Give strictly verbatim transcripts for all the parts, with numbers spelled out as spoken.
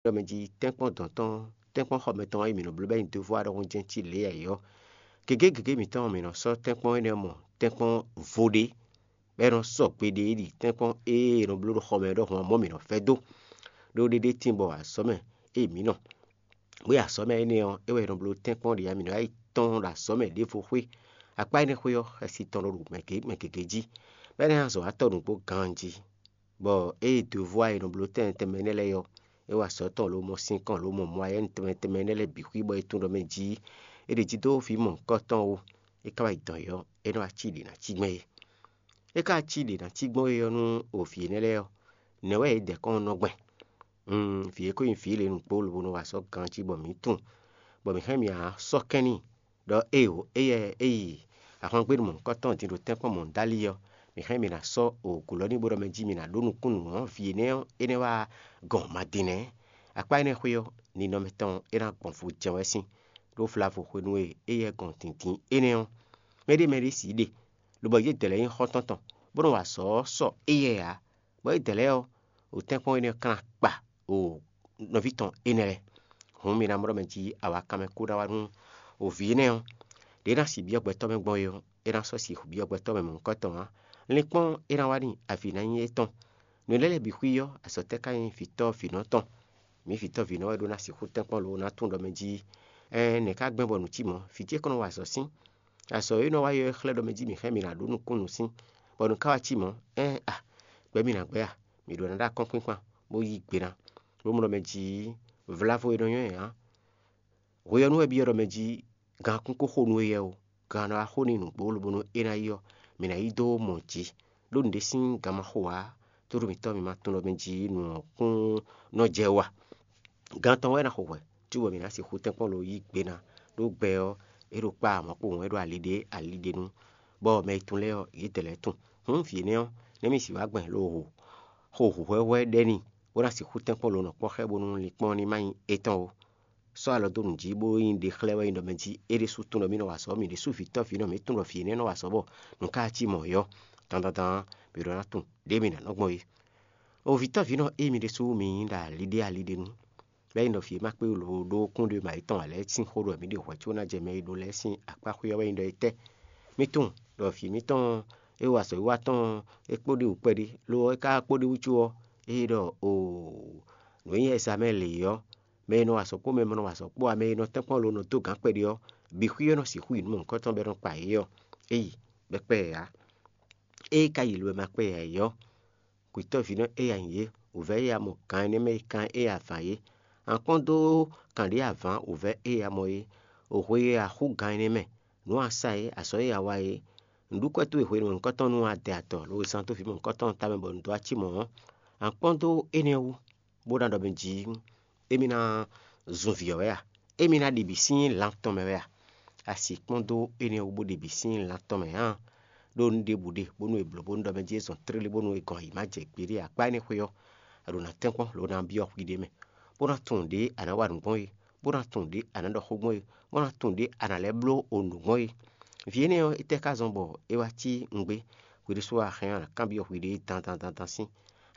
ɖɔ mɛ jí tɛ́nkpɔ́n dɔ̌n tɔn, tɛ́nkpɔ́n xɔ mɛtɔn ɔ́, è mǐ nɔ bló bɔ é nyí dǒvú wá ɖɔhun jɛ́n cí lě ǎ é ɔ́, gěgé gěgé mǐtɔn ɔ́, mǐ nɔ sɔ́ tɛ́nkpɔ́n énɛ́ ɔ́ mɔ tɛ́nkpɔ́n vo ɖé, bɔ é nɔ sɔ́ gbe ɖé ɖi tɛ́nkpɔ́n e è nɔ bló ɖo xɔ mɛ ɔ́ ɖɔhun ɔ́ mɔ̌ mǐ nɔ vɛ́ dó. Ɖó ɖéɖé tíin bɔ azɔ̌ mɛ e mǐ nɔ bó yi azɔ̌ mɛ énɛ́ ɔ́, é wɛ è nɔ bló tɛ́nkpɔ́n ɖě ǎ, mǐ nɔ wá yi tɔ́n ɖo azɔ̌ mɛ ɖěvo xwé. Akpá énɛ́ xwé ɔ́, xɛsi tɔn ɖo ɖo mɛ gěgé jí, bɔ é ná zɔn wá tɔ́ nǔgbó ganjí. Bɔ ée dǒvú e è nɔ bló tɛnmɛ tɛnmɛ énɛ́ lɛ́ɛ ɔ́, é wa azɔ̌ tɔn lomɔ sinkɔn lomɔ mɔ ayɛ́ tɛnmɛ tɛnmɛ énɛ́ lɛ́ɛ bǐ xwí bɔ é tunwun ɖɔ mɛ jí é ɖejí dó vǐ mɔ̌hunkɔtɔn ó, é ka wá yi dɔn yɔ́, é nɔ wá cí ɖě ná cí gbɛn é. É ka cí ɖě ná cí gbɔn é ɔ́ nú o vǐ énɛ́ lɛ́ɛ ɔ́, nɛ̌ wɛ yě dɛ kɔn nɔ gbɛn? Vǐ e ko nyí vǐ lě nǔgbó lobo nɔ wa azɔ̌ ganjí bɔ mǐ tunwun, bɔ mǐ hɛn mǐ wá sɔ́ kɛn n'i ɖɔ éeǒ, éyɛ́ é yi ahwangbénu mɔ̌hunkɔtɔn din ɖo tɛ́nkpɔ́n mɔ̌hundálí ɔ́, mǐ hɛn mǐ ná sɔ́ oogǔlɔ́níbo ɖɔ mɛ jí mǐ ná ɖó nukúnnú ɔ́, vǐ énɛ́ ɔ́, é nɛ́ wá gɔn Madinɛ. Akpá énɛ́ xwé ɔ́, ninɔmɛ tɔn é ná gbɔn vo jɛ́n wɛ sín, ɖó vlavo hwenu e éyɛ́ gɔn dǐndín énɛ́ ɔ́, mɛɖé mɛɖé sǐ ɖe, lobɔ yědɛɛ lɛ́ɛ nyí xɔ́ntɔn tɔn, bó nɔ wa azɔ̌ ɔ́ sɔ éyɛ́ ǎ, bɔ yědɛɛ lɛ́ɛ ɔ́, ɖo tɛ́nkpɔ́n énɛ́ ɔ́ kán akpa ɖo nɔví tɔn énɛ́ lɛ́ɛ. Hǔn mi ná mɔ ɖɔ mɛ jí awakanmɛ kú ná wá nú vǐ énɛ́ ɔ́. Ɖě é ná si byɔ́ gbɛtɔ́ mɛ gbɔn é ɔ́, é ná sɔ́ si byɔ́ gbɛtɔ́ mɛ mɔ̌hunkɔtɔn ǎ. Linkpɔ́n é ná wá n'i avi ná nyí étɔn. Nǔ lɛ́ lɛ́ɛ bǐ xwí ɔ́, azɔ̌ tɛ́ ka nyí vǐtɔ́ vǐnɔ tɔn? Mǐ vǐtɔ́ vǐnɔ wɛ ɖó ná sixú tɛ́nkpɔ́n lo ná tunwun ɖɔ mɛ jí ɛɛn nɛ̌ ka gbɛn bɔ nǔ cí mɔ̌? Vǐ ce kɔn nɔ wa azɔ̌ sín. Azɔ̌ e nɔ wa ylɔ́ é xlɛ́ ɖɔ mɛ jí mǐ hɛn mǐ ná ɖó nukúnnú sín, bɔ nǔ ka wá cí mɔ̌? Ɛɛn a, gbɛ̌ mǐ ná gbɛ́ a? Mǐ ɖó ná ɖó akɔ́nkpinkpan, bó yí gbe ná, bó mɔ ɖɔ mɛ jí vlavo e nɔ nyɔ́ ɛ ǎ. Hwe ɔ́ nú wɛ byɔ́ ɖɔ mɛ jí gankún kó xo nú éyɛ́ ó, gan ná wá xo n'i nǔgbó lobo nú é ná yi ɔ́, mǐ ná yi dó mɔ jǐ, ɖó nǔɖé sín gan ma xo ǎ, tóɖó mǐtɔn mǐ ma tunwun ɖɔ mɛ jí nǔ ɔ́ kún nɔ jɛ wú a. Gan tɔn wɛ é ná xo hwɛ̌, cóbɔ mǐ ná sixú tɛ́nkpɔ́n lo yí gbe ná, ɖó gbɛ ɔ́, é ɖo kpá mɔ̌ kpowun wɛ ɖo ali ɖé ali ɖé nu, bɔ mɛ e tunwun lɛ́ɛ ɔ́, yědɛɛ lɛ́ɛ tunwun. Hǔn vǐ énɛ́ ɔ́, nɛ̌ mi sixú wá gbɛn lo xo hǔhwɛ́hwɛ́ ɖɛ n'i, bó ná sixú tɛ́nkpɔ́n lo nɔ kpɔ́ xá ɛ bónú linkpɔ́n ɔ́ ní ma nyí étɔn ó. Sɔ́ alɔ dó nǔ jí bó nyí ɖe xlɛ́ wɛ nyí ɖɔ mɛ jí é ɖésú tunwun ɖɔ mǐ nɔ wa azɔ̌, mǐ ɖésú vǐtɔ́ vǐnɔ mǐ tunwun ɖɔ vǐ énɛ́ nɔ wa azɔ̌ bɔ nǔ ka cí mɔ̌ é ɔ́, dandandan mǐ ɖó ná tunwun ɖěe mǐ ná nɔ gbɔn é. O vǐtɔ́ vǐnɔ ée mi ɖésú mi nyí ɖo ali ɖé ali ɖé nu, bɔ é nyí ɖɔ vǐ e ma kpé wú lǒ ɖó kúnɖéma yětɔn ǎ lɛ́ɛ sín xó ɖɔ mǐ ɖe hwɛ̌ có ná jɛ mɛ e ɖó lɛ́ɛ sín akpá xwé ɔ́ wɛ nyí ɖɔ étɛ́? Mi tunwun ɖɔ vǐ mǐtɔn e wa azɔ̌wiwa tɔn ɔ́, é kpó ɖi wǔ kpɛɖé, lo ɔ́, é ka kpó ɖi wútu ɔ́, é ɖɔ oo, nǔ e nyí Ɛzamɛ́ɛ lě ɔ́, mɛ e nɔ wa azɔ̌ kpó mɛ e ma nɔ wa azɔ̌ kpó ǎ, mɛ e nɔ tɛ́nkpɔ́n lo nɔ dó gǎn kpɛɖé ɔ́, bǐ xwí ɔ́ nɔ sixú yi nǔ mɔ̌hunkɔtɔn bɔ é nɔ kpa yě ɔ́, é yi, bɔ é kpɛ ɛ ǎ. Ée é ka yi lo e ma kpɛ ɛ ǎ é ɔ́, kwǐtɔ́ví nɔ éya nyí yě, wǔvɛ́ éya mɔ gan énɛ́ mɛ e kan éya vǎn é. A kpɔ́n dó kanɖě avǎn wǔvɛ́ éya mɔ é, o hwe e a xú gan énɛ́ mɛ, nǔ a sa é, azɔ̌ e a wa é, nǔɖukwɛ́ towe hwenu e nǔkɔntɔn nú a dɛ atɔ lo zán dó vǐ mɔ̌hunkɔtɔn ɔ́ tamɛ bɔ nǔ dó acímɔ̌ ɔ́, a kpɔ́n dó énɛ́ wú, bó ná ɖɔ mɛ jí émí ná zun vǐ ɔ́ wɛ a? Émí ná ɖi bǐ sín lan tɔn mɛ wɛ a? A sixú kpɔ́n dó énɛ́ wú bó ɖi bǐ sín lan tɔn mɛ ǎ? Ɖó nǔ ɖěbǔ ɖe bónú è blǒ bónú ɖɔ mɛ jí é zɔn tlélé bónú è gɔn ayǐ ma jɛ gbeɖé akpá énɛ́ xwé ɔ́, a ɖǒ ná tɛ́nkpɔ́n lo ná byɔ́ hwi ɖé mɛ, bó ná tunwun ɖě a nǎ wa nǔ gbɔn é, bó ná tunwun ɖě a nǎ ɖɔ xó gbɔn é, bó ná tunwun ɖě a nǎ lɛ́ bló o nǔ gbɔn é. Vǐ énɛ́ ɔ́, étɛ́ ka zɔn bɔ é wá cí nǔgbé? Hwi ɖésú wá hɛn ɔ́, a nǎ kanbyɔ́ hwiɖée dandan dandan sín.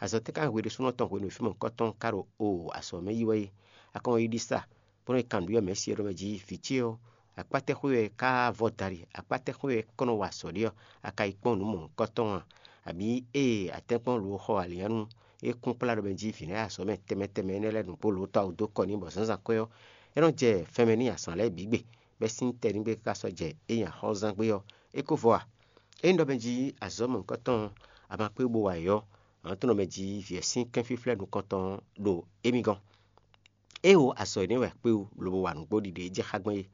Azɔ̌ tɛ́ ka nyí hwi ɖésúnɔ tɔn hwenu e fí mɔ̌hunkɔtɔn ka ɖo o azɔ̌ mɛ yi wɛ é? A kɔn yi ɖi sa, bó nɔ́ yi kan nǔɖiɖi ɔ́ mɛ sí ɔ́ ɖɔ mɛ jí vǐ ce ɔ́, akpá tɛ́ xwé wɛ é ka vɔ́ da ɖi? Akpá tɛ́ xwé wɛ é kɔn nɔ wa azɔ̌ ɖe ɔ́, a ka yi kpɔ́n nǔ mɔ̌hunkɔtɔn a? Abǐ ée a tɛ́nkpɔ́n lo xɔ alǐnnyánú e kún kplá ɖɔ mɛ jí vǐ nɛ́ azɔ̌ mɛ tɛnmɛ tɛnmɛ énɛ́ lɛ́ɛ nǔgbó lo tɔ́ awu dó kɔ n'i bɔ zǎnzǎn kwɛ́ ɔ́, é nɔ́ jɛ fɛnmɛ n'i azǎn lɛ́ɛ bǐ gbe, bɔ é sín tɛ́ n'i gbe káká sɔ́ jɛ é nyi axɔ́zán gbé ɔ́, é ko vɔ a? Ényí ɖɔ mɛ jí azɔ̌ mɔ̌hunkɔtɔn a ma kpé bó wa yě ɔ́, a nǎ tunwun ɖɔ mɛ jí vǐ ɔ́ sín kɛ́nfíflɛ́ nukɔntɔn ɖo émí gɔ́n. É wo azɔ̌ énɛ́ wɛ kpé wú lobo wa nǔgbó ɖiɖe e jɛ xá gbɔn é,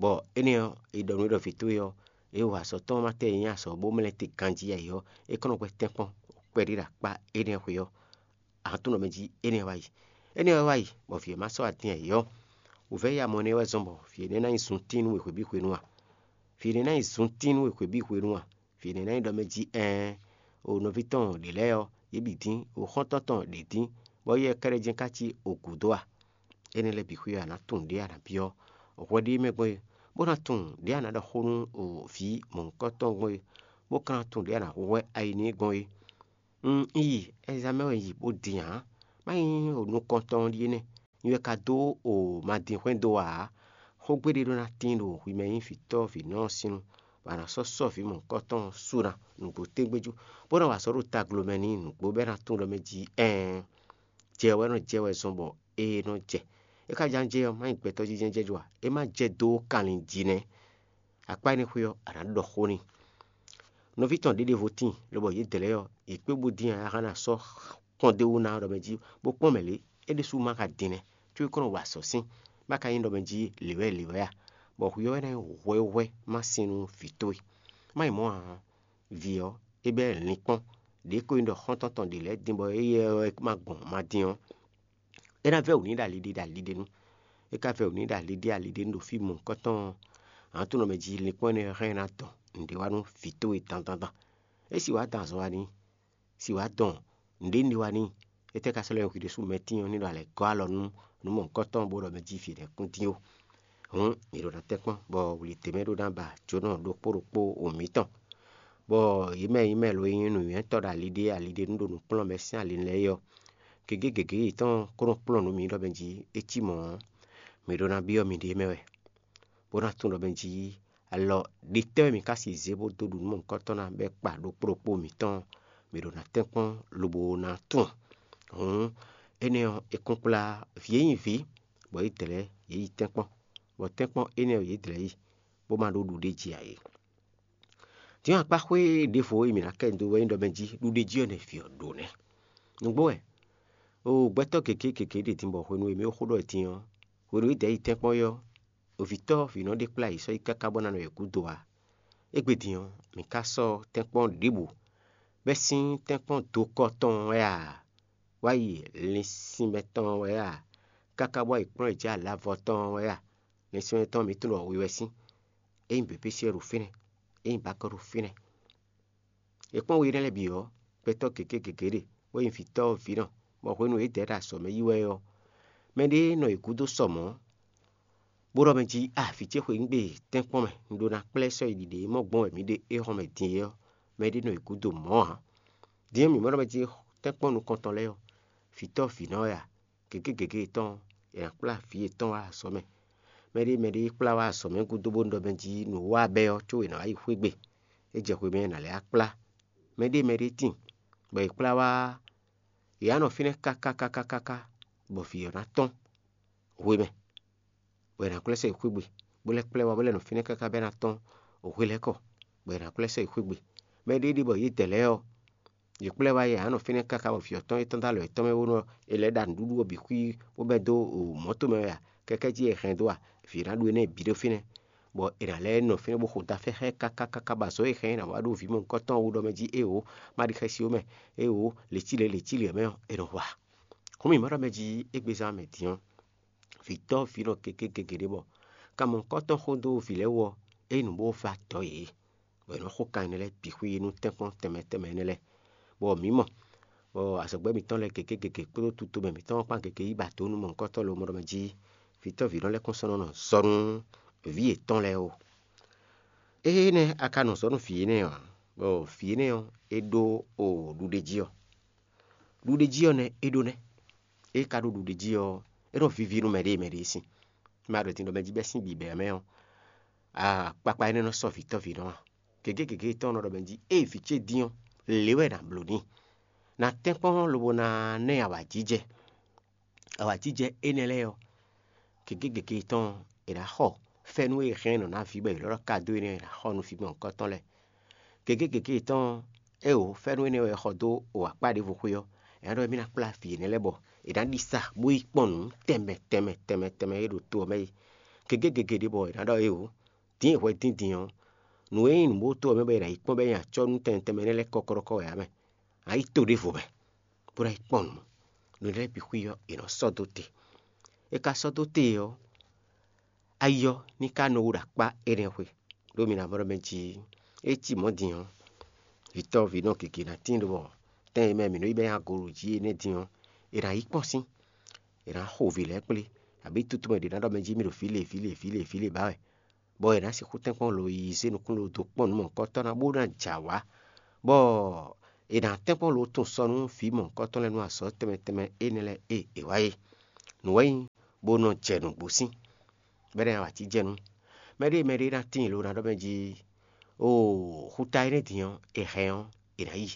bɔ énɛ́ ɔ́, è ɖɔ nú é ɖɔ vǐ towe ɔ́, é wo azɔ̌ tɔn ɔ́ ma tɛ́ e nyí azɔ̌ bó mlɛ́ te ganjí ǎ é ɔ́, é kɔn nɔ gbɛ́ tɛ́nkpɔ́n kpɛɖé ɖo akpá énɛ́ xwé ɔ́, a nǎ tunwun ɖɔ mɛ jí énɛ́ ɔ́ wá yi. Énɛ́ ɔ́ wá yi, bɔ vǐ ɔ́ ma sɔ́ adin ǎ é ɔ́, wǔvɛ́ ya mɔ énɛ́ wɛ zɔ́n bɔ vǐ énɛ́ ná nyí zuntín nú we hwebǐ hwenu a? Vǐ énɛ́ ná nyí zuntín nú we hwebǐ hwenu a? Vǐ énɛ́ ná nyí ɖɔ mɛ jí ɛɛn, o nɔví tɔn ɖě lɛ́ɛ ɔ́, yě bǐ dín, o xɔ́ntɔn tɔn ɖě dín, bɔ yɛ kɛ́ɖɛ́ jɛ́n ka cí o gǔdo a? Énɛ́ lɛ́ɛ bǐ xwé ɔ́, a nǎ tunwun ɖě a nǎ byɔ́ hwɛ ɖé mɛ gbɔn é, bó ná tunwun ɖě a nǎ ɖɔ xó nú o vǐ mɔ̌hunkɔtɔn gbɔn é, bó ka ná tunwun ɖě a nǎ hwɛ́ ayi n'i gbɔn é. Un yi, Ɛzamɛ́ɛ wɛ un yi bó din ǎ. Má nyí o nukɔntɔn ɔ́ ɖíe nɛ́. Nyi wɛ ka dó o madinxwɛ́n dó ǎ. Xógbe ɖé ɖó ná tíin ɖo hwi mɛ nyí vǐtɔ́ vǐnɔ ɔ́ sín nu, bɔ a nǎ sɔ́ sɔ́ vǐ mɔ̌hunkɔtɔn ɔ́ sú ná nǔgbó tɛ́ngbɛ́ jú, bó ná wa sɔ́ ɖo taglo mɛ n'i nǔgbó bɔ é ná tunwun ɖɔ mɛ jí ɛɛn, jɛ wɛ nɔ jɛ wɛ zɔn bɔ é nɔ jɛ. É ka ján jɛ ɔ́, má nyí gbɛtɔ́ jínjɛ́n jɛ jú ǎ; é má jɛ dó kanlin jí nɛ́. Akpá énɛ́ xwé ɔ́, a nǎ ɖɔ xó n'i. Nɔví tɔn ɖěɖěvo tíin, lobɔ yědɛɛ lɛ́ɛ ɔ́, yě kpé bó dín ǎ, a ka ná sɔ́ kpɔ́n d'é wú ná ɖɔ mɛ jí, bó kpɔ́n mɛ lě, é ɖésú ma ka din nɛ́, có é kɔn nɔ wa azɔ̌ sín, bó ka nyí ɖɔ mɛ jí lě wɛ lě wɛ a? Bɔ hwi ɔ́ wɛ ná nyí hwɛhwɛ má sin nú vǐ towe. Má nyí mɔ̌ ǎ ɔ́, vǐ ɔ́, é bɛ́ linkpɔ́n, ɖě ko nyí ɖɔ xɔ́ntɔn tɔn ɖě lɛ́ɛ din bɔ éyɛ́ wɛ ma gbɔn ma din ɔ́, é ná vɛ́ wǔ n'i ɖo ali ɖé ɖo ali ɖé nu. É ka vɛ́ wǔ n'i ɖo ali ɖé ali ɖé nu ɖo fí mɔ̌hunkɔtɔn ɔ́, aǎntonɔ mɛ jí linkpɔ́n énɛ́ hɛn ná dɔn nǔɖé wá nú vǐ towe dandandan. É sì wá dɔn azɔn wá n'i, sì wá dɔn nǔɖé nɖé wá n'i. Étɛ́ ka sɔ́ lɛ́ nyí hwi ɖésú mɛtín ɔ́ ní ɖo alɛ gɔ́ alɔ nú nǔ mɔ̌hunkɔtɔn bó ɖɔ mɛ jí vǐ lɛ́ɛ kún dín ó. Hǔn mǐ ɖo ná tɛ́nkpɔ́n bɔ wlǐ d'é mɛ ɖó ná ba jǒnɔ ɖokpó ɖokpó o mǐtɔn, bɔ yě mɛ nyí mɛ lo e nyí nǔnywɛ́tɔ́ ɖo ali ɖé ali ɖé nú ɖo nǔ kplɔ́n mɛ sín ali lɛ́ɛ é ɔ́, gěgé gěgé yětɔn ko nɔ kplɔ́n nǔ mǐ ɖɔ mɛ jí é cí mɔ̌ ɔ́, mǐ ɖó ná byɔ́ miɖée mɛ wɛ, bó ná tunwun ɖɔ mɛ jí alɔ ɖetɛ́ wɛ mǐ ka sixú zé bó dó ɖu nǔ mɔ̌hunkɔtɔn ná bɔ é kpa ɖokpó ɖokpó mǐtɔn, mǐ ɖo ná tɛ́nkpɔ́n lobo ná tunwun. Hǔn énɛ́ ɔ́, è kún kplá vǐ e nyí vǐ, bɔ yě dlɛ̌ yě yi tɛ́nkpɔ́n, bɔ tɛ́nkpɔ́n énɛ́ ɔ́ yě dlɛ̌ yi, bó ma ɖó ɖuɖéjí ǎ é. Din ɔ́, akpáxwé ɖěvo e mǐ ná kɛ nyi dó wɛ nyí ɖɔ mɛ jí ɖuɖéjí ɔ́ nɛ́ vǐ ɔ́ ɖó nɛ́. Nǔgbó wɛ, oo gbɛtɔ́ gěgé gěgé ɖe din bɔ hwenu e mǐ ɖo xó ɖɔ din ɔ́, hwenu e dɛ̌ yi tɛ́nkpɔ́n é ɔ́, vǐtɔ́ vǐnɔ ɖé kplá yě sɔ́ yi káká bó ná nɔ yě gúdo ǎ. Égbé din ɔ́, mǐ ka sɔ́ tɛ́nkpɔ́n ɖěbǔ, bɛ́ sín tɛ́nkpɔ́n dokɔ tɔn wɛ a, wá yi linsinmɛ tɔn wɛ a, káká bó wá yi kplɔ́n yě jɛ alavɔ tɔn wɛ a? Linsinmɛ tɔn mǐ tunwun ɖɔ we wɛ sín. É nyí běbési wɛ ɖo fínɛ́, é nyí bakɔ́ ɖo fínɛ́. È kpɔ́n we énɛ́ lɛ́ɛ bǐ ɔ́, gbɛtɔ́ gěgé gěgé ɖe, bó nyí vǐtɔ́ vǐnɔ, bɔ hwenu e yě dɛ ɖo azɔ̌ mɛ yi wɛ ɔ́, mɛɖé nɔ yě gúdo sɔ mɔ̌, bó ɖɔ mɛ jí: A, vǐ ce xweyǐgbe tɛ́nkpɔ́n mɛ, un ɖó ná kplá ɛ sɔ́ yi ɖiɖe e mɔ gbɔn wɛ mǐ ɖe éhɔ́n mɛ din é ɔ́, mɛɖé nɔ yě gúdo mɔ̌ ǎ. Din ɔ́, mǐ mɔ ɖɔ mɛ jí tɛ́nkpɔ́n nukɔntɔn lɛ́ɛ ɔ́, vǐtɔ́ vǐnɔ wɛ a? Gěgé gěgé yětɔn, è nǎ kplá vǐ yětɔn wá azɔ̌ mɛ. Mɛɖé mɛɖé kplá wá azɔ̌ mɛ gúdo bó ɖɔ mɛ jí nǔ wa bɛ́ ɔ́, có è nǎ wá yi xwé gbe. É jɛ hwemɛ è nǎ lɛ́ wá kplá. Mɛɖé mɛɖé tíin, bɔ è kplá wá, yě á nɔ fínɛ́ káká káká káká, bɔ vǐ ɔ́ ná tɔ́n hwemɛ, bɔ è nǎ kplá sɔ́ yi xwé gbe, bó lɛ́ kplá ɛ wá bó lɛ́ nɔ fínɛ́ káká bɔ é ná tɔ́n hwelɛ́kɔ, bɔ è nǎ kplá sɔ́ yi xwé gbe. Mɛɖé ɖe bɔ yědɛɛ lɛ́ɛ ɔ́, yě kplá ɛ wá yɛ á nɔ fínɛ́ káká bɔ vǐ ɔ́ tɔ́n é tɔ́n dó alɔ yětɔn mɛ bó nɔ è lɛ́ ɖa nǔɖuɖu ɔ́ bǐ xwí bó bɛ́ dó mɔ̌to mɛ wɛ a? Kɛ́kɛ́ jí è hɛn dó a? Vǐ ná ɖu énɛ́ bǐ ɖó fínɛ́, bɔ è nǎ lɛ́ nɔ fínɛ́ bó xo dafɛ́ xá ɛ káká káká bɔ azɔ̌ e hɛn é ná wá ɖó vǐ mɔ̌hunkɔtɔn ɔ́ wú ɖɔ mɛ jí: Éeǒ, má ɖi xɛsi ó mɛ; éeǒ, lě cí lě lě cí lě ɔ́ mɛ ɔ́, è nɔ wa. Hǔn mǐ ma ɖɔ mɛ jí égbezán mɛ din ɔ́, vǐtɔ́ vǐnɔ gěgé gěgé ɖé bɔ kanmɔkɔ́tɔn xó dó vǐ lɛ́ɛ wú ɔ́, é nyí nǔ bó va dɔ̌ yě, bɔ è nɔ xo kan énɛ́ lɛ́ɛ bǐ xwí nú tɛ́nkpɔ́n tɛnmɛ tɛnmɛ énɛ́ lɛ́ɛ, bɔ mǐ mɔ, bɔ azɔ̌gbɛ́ mǐtɔn lɛ́ɛ gěgé gěgé kpódó tutomɛ mǐtɔn ɔ́ kpán gěgé yí ba dǒ nú mɔ̌hunkɔtɔn lomɔɖɔmɛ jí vǐtɔ́ vǐnɔ lɛ́ɛ kún sɔ́ nɔ nɔ zɔ nú vǐ yětɔn lɛ́ɛ ó. Énɛ́ a ka nɔ zɔ nú vǐ énɛ́ ɔ́, bɔ vǐ énɛ́ ɔ́, é ɖó o ɖuɖéjí ɔ́. Ɖuɖéjí ɔ́ nɛ́ é ɖó nɛ́. É ka ɖó ɖuɖéjí ɔ́, é nɔ víví nú mɛɖée mɛɖée sín. Mɛ a ɖo din ɖɔ mɛ jí bɛ́ sín bǐbɛ́ mɛ ɔ́, akpakpa énɛ́ nɔ sɔ́ vǐtɔ́ vǐnɔ ǎ. Gěgé gěgé tɔn nɔ ɖɔ mɛ jí: Ée vǐ ce dín ɔ́, lě wɛ è nǎ bló n'i. Nǎ tɛ́nkpɔ́n lobo ná ná ɛ awǎjijɛ. Awǎjijɛ énɛ́ lɛ́ɛ ɔ́, gěgé gěgé tɔn è nǎ xɔ fɛ́nú e è hɛn nɔ ná vǐ bɔ è lɔ́ ɖɔ ka dó énɛ́ ɔ́, è nǎ xɔ nú vǐ mɔ̌hunkɔtɔn lɛ́ɛ. Gěgé gěgé tɔn, éeǒ, fɛ́nú énɛ́ wɛ è xɔ dó o akpá ɖěvo xwé ɔ́, è nǎ ɖɔ émí ná kplá vǐ énɛ́ lɛ́ɛ bɔ è nǎ ɖi sa bó yi kpɔ́n nǔ tɛnmɛ tɛnmɛ tɛnmɛ tɛnmɛ e ɖo to ɔ́ mɛ é. Gěgé gěgé ɖě bɔ è nǎ ɖɔ éeǒ, dín e hwɛ dín din ɔ́, nǔ e nyí nǔbótó ɔ́ mɛ bɔ è nǎ yi kpɔ́n bɔ é nyi acɔ́nú tɛnmɛ tɛnmɛ énɛ́ lɛ́ɛ kɔ́kɔ́ɖɔkɔ́ wɛ ǎ mɛ. A yi to ɖěvo mɛ, bó ná yi kpɔ́n nǔ. Nǔ lɛ́ɛ bǐ xwí ɔ́, è nɔ sɔ́ dó te. È ka sɔ́ dó te ɔ́, ayi ɔ́ ní ka nɔ wú ɖo akpá énɛ́ xwe, ɖó mi ná mɔ ɖɔ mɛ jí é cí mɔ̌ din ɔ́, vǐtɔ́ vǐnɔ gěgé ná tíin ɖo tɛn e mɛ mǐ nɔ yi bɛ́ nyi agolo jí é nɛ́ din ɔ́, è nǎ yi kpɔ́n sín, è nǎ xo vǐ lɛ́ɛ kplé, abǐ tutumɛ ɖě ná ɖɔ mɛ jí mì ɖo fǐ le fǐ le fǐ le fǐ le ba wɛ, bɔ è nǎ sixú tɛ́nkpɔ́n lo yi zé nukún lo dó kpɔ́n nǔ mɔ̌hunkɔtɔn ná bó ná jɛ awǎ, bɔ è nǎ tɛ́nkpɔ́n lo tunwun sɔ nú vǐ mɔ̌hunkɔtɔn lɛ́ɛ nú azɔ̌ tɛnmɛ tɛnmɛ énɛ́ lɛ́ɛ e è wa é. Nǔ wɛ nyí bó nɔ jɛ nǔgbó sín, bɔ é ná yi awǎjijɛ nú mɛɖée mɛɖée ná tíin lo ná ɖɔ mɛ jí, oo, xuta énɛ́ din ɔ́, è hɛn ɔ́, è nǎ yi.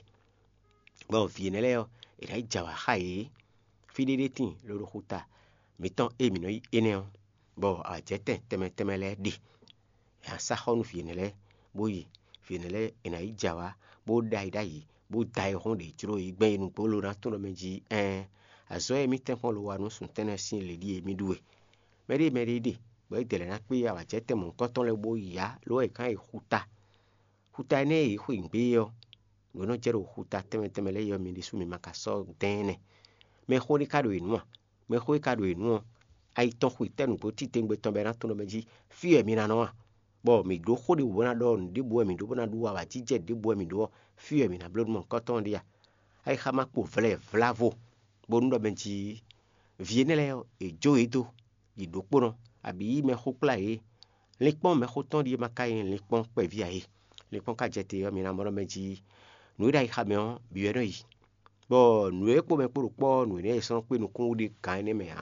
Bɔ vǐ énɛ́ lɛ́ɛ ɔ́, è nǎ yi jɛ awǎ xá yě. Fí ɖé ɖé tíin loɖo xuta mǐtɔn e mǐ nɔ yí énɛ́ ɔ́, bɔ awǎjɛtɛn tɛnmɛ tɛnmɛ lɛ́ɛ ɖe. È nǎ sá xɔ nú vǐ énɛ́ lɛ́ɛ, bó yi. Vǐ énɛ́ lɛ́ɛ è nǎ yi jɛ awǎ, bó ɖó ayi ɖ'ayǐ, bó da ayihún ɖě jló yi gbɛn yi nǔgbó lo ná tunwun ɖɔ mɛ jí ɛɛn, azɔ̌ e mǐtɛn kpɔ́n lo wa nú sun tɛ́nnɛ sín le ɖíe mì ɖu e. Mɛɖée mɛɖée ɖe, bɔ é dɛ lɛ́ ná kpé awǎjɛtɛn mɔ̌hunkɔtɔn lɛ́ɛ bó yá, lo wɛ è kán yi xuta. Xuta énɛ́ e yě xwe nǔgbé é ɔ́, nǔ e nɔ jɛ ɖo xuta tɛnmɛ tɛnmɛ lɛ́ɛ é ɔ́, mi ɖésú mi ma ka sɔ́ dɛn ɛ nɛ́. Mɛxó ɖé ka ɖo yě nu a? Mɛxó e ka ɖo yě nu ɔ́, ayi tɔn xwe tɛ́ nǔgbó titewungbe tɔn bɔ é ná tunwun ɖɔ mɛ jí fí wɛ mi ná nɔ a? Bɔ mǐ ɖó xó ɖěbǔ bó ná ɖɔ nǔ ɖěbǔ wɛ mǐ ɖó bó ná ɖu awǎjijɛ ɖěbǔ wɛ mǐ ɖó ɔ́, fí wɛ mǐ ná bló nú mɔ̌hunkɔtɔn ɖe a? Ayixa ma kpo vlɛ vlavo, bónú ɖɔ mɛ jí vǐ énɛ́ lɛ́ɛ ɔ́, è jó yě dó yi ɖǒkpónɔ, abǐ yí mɛxó kplá yě. Linkpɔ́n mɛxó tɔn ɖíe ma ka nyí linkpɔ́n kpɛví ǎ é. Linkpɔ́n ka jɛ te ɔ́, mi ná mɔ ɖɔ mɛ jí nǔ e ɖo ayixa mɛ ɔ́ bǐ wɛ nɔ yi. Bɔ nǔ e kpo mɛ kpo ɖo kpɔ́ ɔ́, nǔ énɛ́ e sɔ́ nɔ kpé nukún wú ɖe gǎn énɛ́ mɛ ǎ.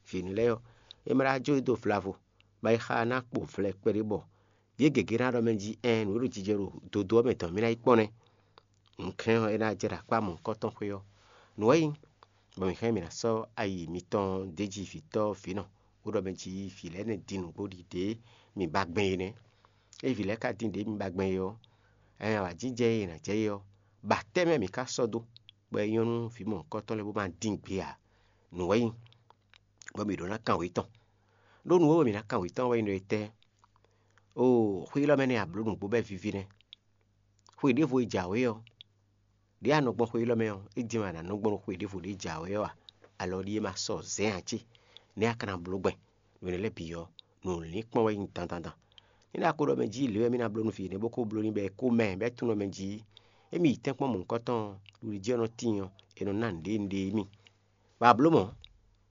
Vǐ énɛ́ lɛ́ɛ ɔ́, é ma ɖó ajó e dó vlavo, bɔ ayixa ná kpo vlɛ kpɛɖé bɔ yě gěgé ná ɖɔ mɛ jí ɛɛn nǔ e ɖo jijɛ ɖo dodó ɔ́ mɛ dɔn mì ná yi kpɔ́n nɛ́. Nǔkɛ́n ɔ́, é ná jɛ ɖo akpá mɔ̌hunkɔtɔn xwé ɔ́. Nǔ wɛ nyí, bɔ mǐ hɛn mǐ ná sɔ́ ayi mitɔn d'é jí vǐtɔ́ vǐnɔ, bó ɖɔ mɛ jí vǐ lɛ́ɛ nɛ́ din nǔgbó ɖi ɖě mǐ ba gbɛn é nɛ́. Ée vǐ lɛ́ɛ ka din ɖě mǐ ba gbɛn é ɔ́, ɛɛn awǎjijɛ e è nǎ jɛ é ɔ́, ba tɛ́ mɛ mǐ ka sɔ́ dó, bɔ é nyɔ́ nú vǐ mɔ̌hunkɔtɔn lɛ́ɛ bó ma dín gbé ǎ. Nǔ wɛ nyí, bɔ mǐ ɖó ná kan wě tɔn. Ɖó nǔ e wɛ mǐ ná kan wě tɔn wɛ nyí ɖɔ étɛ́? Oo, xwé élɔ́ mɛ nɛ́ a blǒ nǔgbó bɔ é víví nɛ́. Xwe ɖěvo e jǎwe ɔ́, ɖěe a nɔ gbɔn xwe élɔ́ mɛ ɔ́, é jɛ́n wɛ a nǎ nɔ gbɔn ɖo xwe ɖěvo ɖě jǎwe ɔ́ a? Alɔ ɖíe ma sɔ́ zɛ̌n ǎ cé? Nɛ̌ a ka ná bló gbɛn? Nǔ énɛ́ lɛ́ɛ bǐ ɔ́, nǔ lǐnkpɔ́n wɛ nyí dandandan. Ní ɖo a ko ɖɔ mɛ jí lě wɛ mì ná bló nú vǐ énɛ́ bó ko bló n'i bɔ é kó mɛ bɔ é tunwun mɛ jí émí yi tɛ́nkpɔ́n mɔ̌hunkɔtɔn ɖuɖu jí ɔ́ nɔ tíin ɔ́, è nɔ ná nǔɖé nǔɖé émí. Bɔ a blǒ mɔ̌,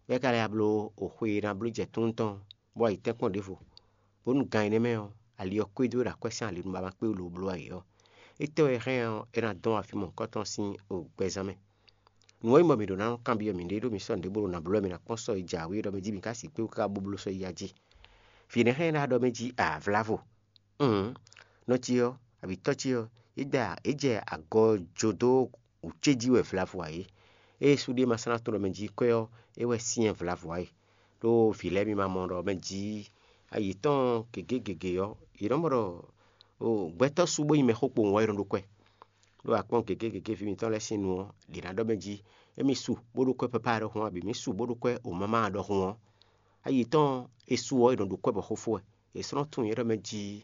bɔ é ka lɛ́ ya bló xwe e è nǎ bló jɛ tún tɔn, bó wá yi tɛ́nkpɔ́n ɖěvo, bónú gan énɛ́ mɛ ɔ́, ali ɔ́ kɔ́ dó ɖo akwɛ́ sín ali nu bɔ a ma kpé wú lobo bló ayǐ ɔ́, étɛ́ wɛ hɛn ɔ́, é ná dɔn afí mɔ̌hunkɔtɔn sín gbɛzán mɛ? Nǔ ɔ́ nyí bɔ mǐ ɖǒ ná nɔ kanbyɔ́ mǐɖée ɖó mi sɔ́ nǔɖé bó ɖo nǎ bló wɛ mǐ ná kpɔ́n sɔ́ yi jǎwe ɖɔ mɛ jí mǐ ka sixú kpé wú káká bó bló sɔ́ yi ya jí. Vǐ énɛ́ hɛn ná ɖɔ mɛ jí ǎ, vlavo. Ún, nɔ ce ɔ́, abǐ tɔ́ ce ɔ́, é da é jɛ agɔ jó dó wǔ ce jí wɛ vlavo ǎ é. Ée sú ɖé ma slán tɔn ɖɔ mɛ jí kwɛ́ ɔ́, é wɛ syɛ́n vlavo ǎ é. Ɖó vǐ lɛ́ɛ mi ma mɔ ɖɔ mɛ jí ayǐ tɔn gěgé gěgé ɔ́, yě nɔ mɔ ɖɔ gbɛtɔ́ sú bó nyí mɛxó kpowun ɔ́, é nɔ ɖó kwɛ́. Ɖó akpɔ́n gěgé gěgé ví mitɔn lɛ́ɛ sín nu ɔ́, ɖě ná ɖɔ mɛ jí émí su bó ɖó kwɛ́ papá ɖɔhun, abǐ mí su bó ɖó kwɛ́ omama ɖɔhun ɔ́, ayǐ tɔn e su ɔ́, è nɔ ɖo kwɛ́ bɔ xó fó wɛ. È sɔ́ nɔ tunwun nyɛ ɖɔ mɛ jí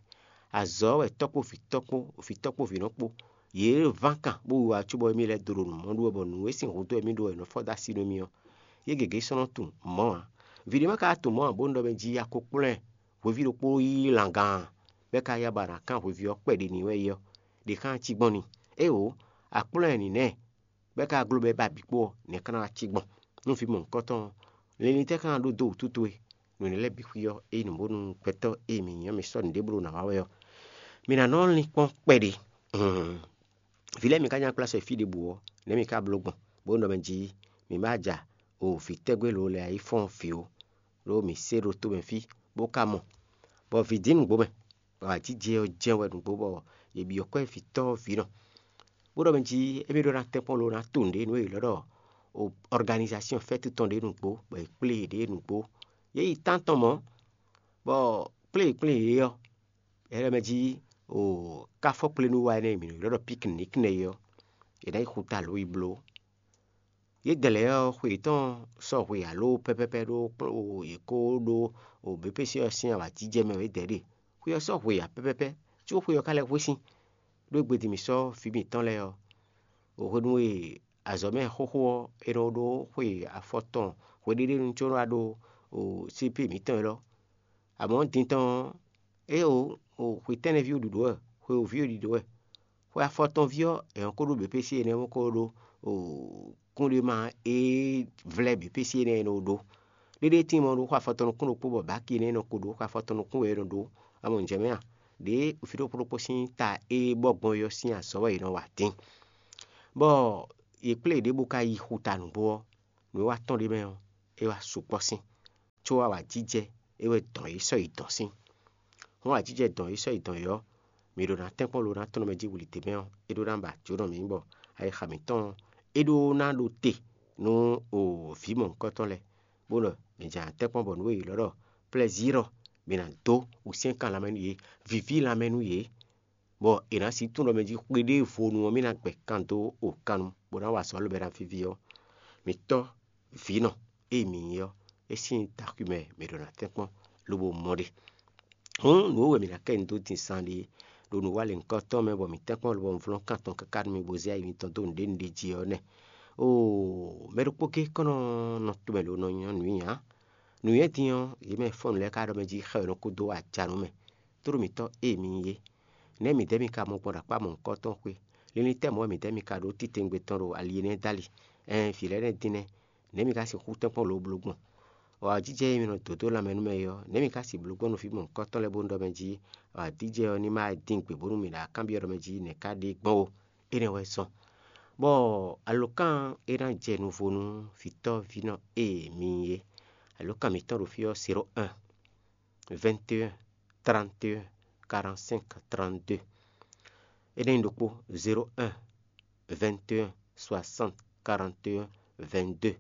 azɔ̌ wɛ tɔ́ kpó vǐ tɔ́ kpó vǐ tɔ́ kpó vǐ nɔ kpó. Yě ván kan bó wiwa cóbɔ émí lɛ́ dó ɖo nǔ mɔ ɖu wɛ, bɔ nǔ e sín hudó wɛ mì ɖó wɛ è nɔ fɔ́ dó así nú émí ɔ́, yě gěgé sɔ́ nɔ tunwun mɔ̌ ǎ. Vǐ ɖé ma ka tunwun mɔ̌ ǎ, bónú ɖɔ mɛ jí a ko kplɔ́n ɛ hweví ɖokpó yi langán, bɔ é ka ya ba ná kán hweví ɔ́ kpɛɖé n'i wɛ é ɔ́, ɖě xá cí gbɔn n'i. Éeǒ, a kplɔ́n ɛ nǐnɛ́, bɔ é ka gló bɔ é ba bǐ kpó ɔ́, nɛ̌ ka ná wá cí gbɔn? Nú vǐ mɔ̌hunkɔtɔn ɔ́, linlin tɛ́ ka ná ɖó dó wǔtu towe? Nǔ énɛ́ lɛ́ɛ bǐ xwí ɔ́, ényí nǔ bónú gbɛtɔ́ e mǐ nyí ɔ́, mi sɔ́ nǔɖé bló ná wa wɛ ɔ́, mi ná nɔ lín kpɔ́n kpɛɖé. Vǐ lɛ́ɛ mi ka nya kplá sɔ yi fí ɖěbǔ ɔ́, nɛ̌ mi ka bló gbɔn, bó nɔ mɛ jí mi ma ja o vǐ tɛ́gbé lǒ lɛ́ɛ yi fɔ́n vǐ ó, ɖó mǐ se ɖo tomɛ fí, bó ka mɔ, bɔ vǐ dín nǔgbó mɛ, bɔ ajijɛ ɔ́ jɛ́n wɛ nǔgbó, bɔ yě byɔ́ kwɛ́ vǐ tɔ́ vǐ nɔ. Bó ɖɔ mɛ jí émí ɖó ná tɛ́nkpɔ́n ló ná to nǔɖé nú e è lɔ́ ɖɔ organization fɛ́tú tɔn ɖé nǔgbó, bɔ è kplé yě ɖě nǔgbó. Yě yi tántɔn mɔ̌, bɔ kplé e è kplé yě ɔ́, é ɖɔ mɛ jí o káfɔ́kplénúwa énɛ́ e mǐ nɔ ylɔ́ ɖɔ piknik nɛ́ é ɔ́, è nǎ yi xuta lǒ yi bló. Yědɛɛ lɛ́ɛ ɔ́, xwe yětɔn sɔ́ hwe ǎ ló pɛ́pɛ́pɛ́ ɖó yě kó ɖó běpési ɔ́ sín awǎjijɛ mɛ wɛ yědɛɛ ɖe. Xwe ɔ́ sɔ́ hwe ǎ pɛ́pɛ́pɛ́, có xwe ɔ́ ka lɛ́ hwesín. Ɖó gbe din mǐ sɔ́ vǐ mǐtɔn lɛ́ɛ ɔ́, hwenu e azɔ̌mɛ xóxó ɔ́, è nɔ ɖó xwe afɔtɔn hweɖéɖénu có nɔ wá ɖó C P mǐtɔn élɔ́. Amɔ̌ din tɔn ɔ́, éeǒ, xwe tɛ́nnɛví ɖiɖǒ wɛ, xwe wǒví ɖiɖǒ wɛ. Xwe afɔtɔnví ɔ́, è nɔ ko ɖó běpési énɛ́ bó ko ɖó kúnɖéma e vlɛ́ běpési énɛ́ e nɔ ɖó. Ɖéɖé tíin mɔ ɖó xwe afɔtɔn nukún ɖokpó bɔ bǎki énɛ́ e nɔ ko ɖó xwe afɔtɔn nukún wɛ è nɔ ɖó. Amɔ nǔjɛ mɛ a? Ɖěe vǐ ɖokpó ɖokpó sín ta e bɔ gbɔn é ɔ́ sín azɔ̌ wɛ è nɔ wa dín. Bɔ yě kplé yě ɖěbǔ ka yi xuta nǔgbó ɔ́, nǔ e wá tɔ́n ɖ'é mɛ ɔ́, é wá sukpɔ́ sín, có awǎjijɛ é wɛ dɔn yě sɔ́ yi dɔn sín. Hɔn awǎjijɛ dɔn yě sɔ́ yi dɔn yě ɔ́, mǐ ɖo ná tɛ́nkpɔ́n lo ná tɔn mɛ jí wuli d'é mɛ ɔ́, é ɖó ná ba jǒnɔ mǐ bɔ ayixa mǐtɔn ɔ́, é ɖó ná ɖo te nú vǐ mɔ̌hunkɔtɔn lɛ́ɛ, bó ɖɔ mǐ jɛ ná tɛ́nkpɔ́n bɔ nǔ e è ylɔ́ ɖɔ plɛzír ɔ́, mǐ ná dó wǔsyɛ́nkan lanmɛ nú yě, víví lanmɛ nú yě, bɔ è nǎ sixú tunwun ɖɔ mɛ jí xwe ɖěvo nu ɔ́, mì ná gbɛ kan dó o kan nu, bó ná wa azɔ̌ lobɛ ná víví ɔ́, mǐ tɔ́ vǐnɔ e mǐ nyí ɔ́, é sín taxwimɛ mǐ ɖo ná tɛ́nkpɔ́n lobo mɔ ɖe. Hǔn nǔ e wɛ mǐ ná kɛ nyi dó din zan ɖe ɖo nǔwanlɛ̌nkɔ́tɔn mɛ bɔ mǐ tɛ́nkpɔ́n lobɔ un vlɔ́n kan tɔn káká nú mi bó zé ayi mitɔn dó nǔɖé nǔɖé jí ɔ́ nɛ́. Oo, mɛ ɖokpó géé kɔn nɔ nɔ tomɛ lo nɔ nyɔ́ nǔ nyi ǎ. Nǔnywɛ́ din ɔ́, yě mɛ fɔ́n nǔ lɛ́ɛ ka ɖɔ mɛ jí xɛ we nɔ kú dó ajanú mɛ. Tlóló mǐtɔn e mi nyí é. Nɛ̌ midɛɛ mi ka mɔ gbɔn ɖo akpá mɔ̌hunkɔtɔn xwé? Linlin tɛ́ mɔ̌ wɛ midɛɛ mi ka ɖó titewungbe tɔn ɖo ali énɛ́ dali? Ɛɛn, vǐ lɛ́ɛ nɛ́ dín nɛ́. Nɛ̌ mi ka sixú tɛ́nkpɔ́n lǒbló gbɔn? Awǎjijɛ e mi nɔ dǒ dó lanmɛ nú mɛ é ɔ́, nɛ̌ mi ka sixú bló gbɔn nú vǐ mɔ̌hunkɔtɔn lɛ́ɛ bónú ɖɔ mɛ jí awǎjijɛ ɔ́ ní ma wá din gbe bónú mi ɖo akanbyɔ́ ɖɔ mɛ jí nɛ̌ ka ɖe gbɔn ó? Énɛ́ wɛ zɔ́n. Bɔ alǒkan e ná jɛ nuvo nú vǐtɔ́ vǐnɔ e mi nyí é. Alǒkan mǐtɔn ɖo fí ɔ́, zéro un, vingt et un, trente et un, quarante-cinq, trente-deux. É ná nyí ɖokpó, zéro un, vingt et un, soixante, quarante et un, vingt-deux.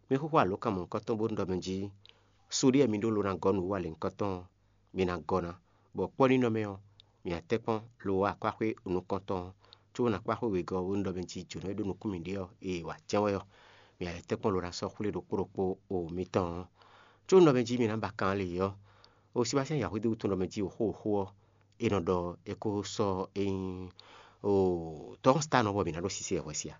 Mi xóxó alǒkan mɔ̌hunkɔtɔn bónú ɖɔ mɛ jí, sóɖíɛ mi ɖó lo ná gɔ́ nǔ wú alěhunkɔtɔn ɔ́, mi ná gɔ́ ná, bɔ kpɔ́ nínɔ́ mɛ ɔ́, mi ná tɛ́nkpɔ́n lo wá akwáxwé nukɔntɔn ɔ́, có nǎ kpá xwé wegɔ́ ɔ́ bónú ɖɔ mɛ jí jǒnɔ e ɖó nukún mǐɖée ɔ́, e è wa jɛ́n wɛ ɔ́, mi ná lɛ́ tɛ́nkpɔ́n lo ná sɔ́ xwlé ɖokpó ɖokpó o mitɔn ɔ́. Có nú ɖɔ mɛ jí mi ná ba kan lě ɔ́, o síbáṣán Yǎhwedíwú tɔn ɖɔ mɛ jí o xó o xó ɔ́, è nɔ ɖɔ é kó sɔ́ é nyí o tɔ́ ɔ́ sta nɔ bɔ mǐ ná ɖó sisɛ hwɛsi a?